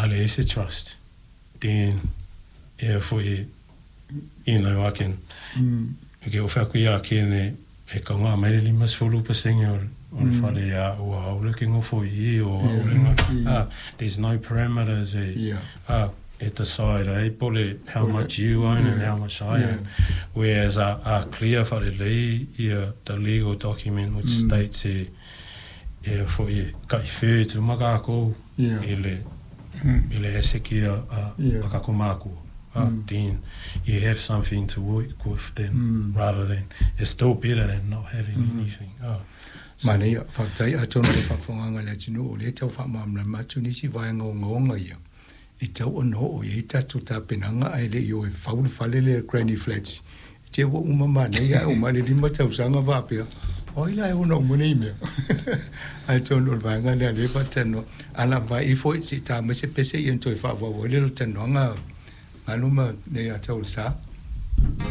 A leai se trust, then e foi, I can, ke oo fai atu ia Ken e kauga mai le 50% o le fale ia a'u a'ole ou te nofo i i o a'u le there's no parameters e e decide ai po o le how much you own and how much I own. Whereas a clear faalelei ia the legal document which states e foi e taʻi uma takou i le asset ia a takou makua. Then you have something to work with then rather than, it's still better than not having anything. Manaia, faafetai. Atonu le faafofogaga a le atunuu o lea tau faamalamalama atu nisi vaega ogaoga ia e tau ona oo i ai tatou tapenaga, ae le i o e fau le fale lea Granny Flats te ua uma manaia ae uma le 5 tausaga faapea o ai la e ona uma nei mea. Ae tonu o le vaega lea lea faatalanoa ala vai ifo se i ta mai se pese ia na toe faaauau ai le talanoaga galu ma nei a tau le sa.